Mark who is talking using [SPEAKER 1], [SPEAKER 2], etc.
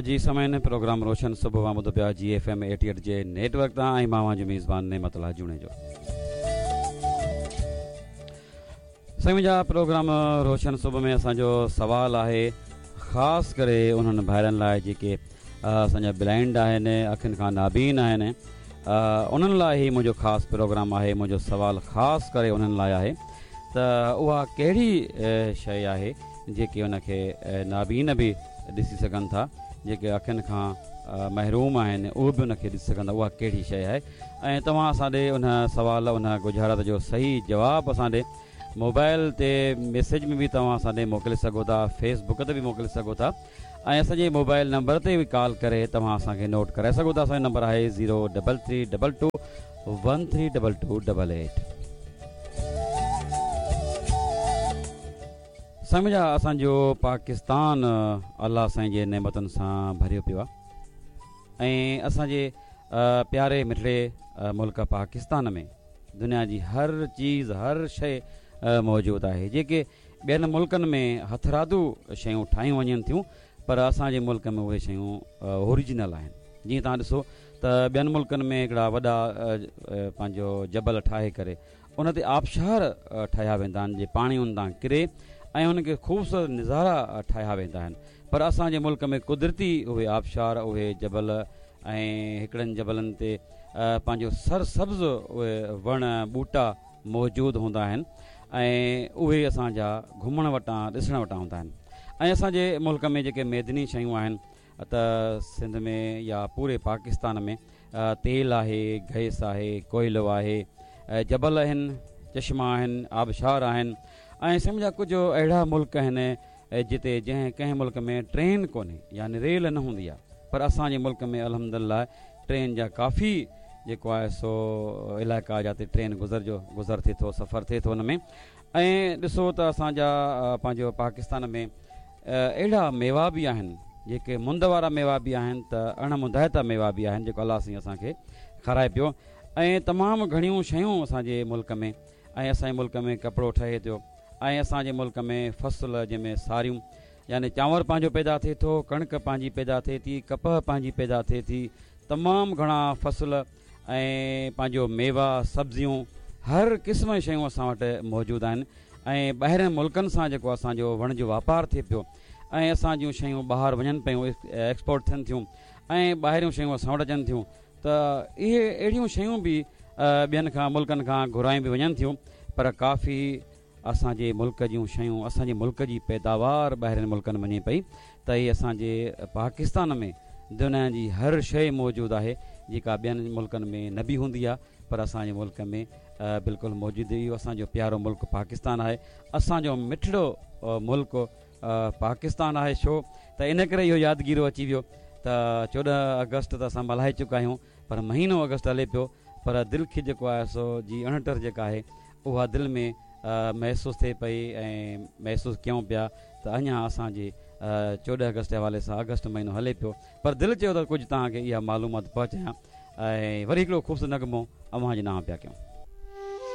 [SPEAKER 1] جي سامعين پروگرام روشن صبح اوهان ٻڌو پيا جي ايف ايم 88 جي نيٽ ورڪ تان ۽ مان اوهان جو ميزبان نعمت الله جوڻيجو. سائين منهنجا پروگرام روشن صبح ۾ اسان جو سوال آهي خاص ڪري انهن ڀائرن لاء جيڪي اسان جا بلائنڊ آهن اکين کان نابين آهن انهن لاء هي منهنجو خاص پروگرام آهي منهنجو سوال خاص ڪري انهن لاء آهي ته اها ڪهڙي شيء آهي جيڪي ان کي نابين به ڏسي سگهن ٿا جيڪي اکين کان محروم آهن اهي به ان کي ڏسي سگهن ٿا اها ڪهڙي شيء آهي ۽ توهان اسان ڏي ان سوال ان ڳجهارت جو صحيح جواب اسان ڏي موبائل تي ميسيج ۾ به توهان اسان ڏي موڪلي سگهو ٿا فيس بڪ تي به موڪلي سگهو ٿا ۽ اسان جي موبائل نمبر تي به ڪال ڪري توهان اسان کي نوٽ ڪرائي سگهو ٿا اسان جو نمبر آهي zero double three double two one three double two double eight. سائين منهنجا اسان جو پاڪستان الله سائين جي نعمتن سان ڀريو پيو آهي ۽ اسان جي پياري مٺڙي ملڪ پاڪستان ۾ دنيا جي هر چيز هر شيء موجود آهي جيڪي ٻين ملڪن ۾ هٿرادو شيون ٺاهيون وڃن ٿيون پر اسان جي ملڪ ۾ اهي شيون اوريجنل آهن جيئن توهان ڏسو ته ٻين ملڪن ۾ هڪڙا وڏا پنهنجو جبل ٺاهي ڪري ان تي آبشار ٺاهيا ويندا آهن جي پاڻي ان تان ڪري ۽ ان کي خوبصورت نظارا ٺاهيا ويندا آهن پر اسان جي ملڪ ۾ قدرتي اهي آبشار اهي جبل ۽ هڪڙن جبلن تي پنهنجو سر سبز اهي وڻ ٻوٽا موجود هوندا آهن ۽ اهي اسان جا گهمڻ وٽان ڏسڻ وٽان هوندا آهن ۽ اسان جي ملڪ ۾ جيڪي معدني شيون آهن ته سنڌ ۾ يا پوري پاڪستان ۾ تيل آهي، گئس آهي، ڪوئلو آهي، جبل آهن، چشما آهن، آبشار آهن ۽ سمجهه ڪجهه اهڙا ملڪ آهن جتي جنهن ڪنهن ملڪ ۾ ٽرين ڪونهي يعني ريل نه هوندي آهي پر اسان جي ملڪ ۾ الحمدلله ٽرين جا ڪافي جيڪو آهي سو علائقا جاتي ٽرين گذر جو گذر ٿئي ٿو سفر ٿئي ٿو ان ۾ ۽ ڏسو ته اسان جا پنهنجو پاڪستان ۾ اهڙا ميوا به آهن جيڪي مند وارا ميوا به آهن ته اڻ مندائتا ميوا به آهن جيڪو الله سائين اسان کي کارائي پيو ۽ تمام گهڻيون شيون اسان جي ملڪ ۾ ۽ اسان جي ملڪ ۾ ڪپڙو ٺهي ٿو ۽ اسان جي ملڪ ۾ فصل جنهن ۾ ساريون يعني چانور پنهنجو پيدا ٿئي ٿو ڪڻڪ پنهنجي پيدا ٿئي ٿي ڪپهه پنهنجي پيدا ٿئي ٿي تمام گهڻا فصل ۽ پنهنجو ميوا سبزيون هر قسم جون شيون اسان وٽ موجود آهن ۽ ٻاهرين ملڪن سان جيڪو اسان جو وڻج واپار ٿئي پيو ۽ اسان جون شيون ٻاهر وڃن پيون ايڪسپورٽ ٿين ٿيون ۽ ٻاهريون شيون اسان وٽ اچن ٿيون ته اهي اهڙيون شيون به ٻين کان ملڪن کان گهرايون به وڃن ٿيون پر ڪافي اسان جي ملڪ جون شيون اسان جي ملڪ جي پيداوار ٻاهرين ملڪن وڃي پئي ته هي اسان جي پاڪستان ۾ دنيا جي هر شيء موجود آهي جيڪا ٻين ملڪن ۾ نه به هوندي آهي پر اسان جي ملڪ ۾ بلڪل موجود اهو اسان جو پيارو ملڪ پاڪستان آهي اسان جو مٺڙو ملڪ پاڪستان آهي ڇو ته ان ڪري اهو يادگيرو اچي ويو ته 14 آگسٽ ته اسان ملهائي چڪا آهيون پر مهينو آگسٽ هلي پيو پر دل کي جيڪو آهي سو جي اڻٽر جيڪا آهي اها دل ۾ محسوس ٿئي پئي ۽ محسوس ڪيون پيا ته اڃا اسان جي 14 آگسٽ جي حوالي سان آگسٽ مهينو هلي پيو پر دل چيو ته ڪجهه توهان کي اها معلومات پهچايان ۽ وري هڪڙو خوبصورت نغمو اوهان جي نانء پيا ڪيون.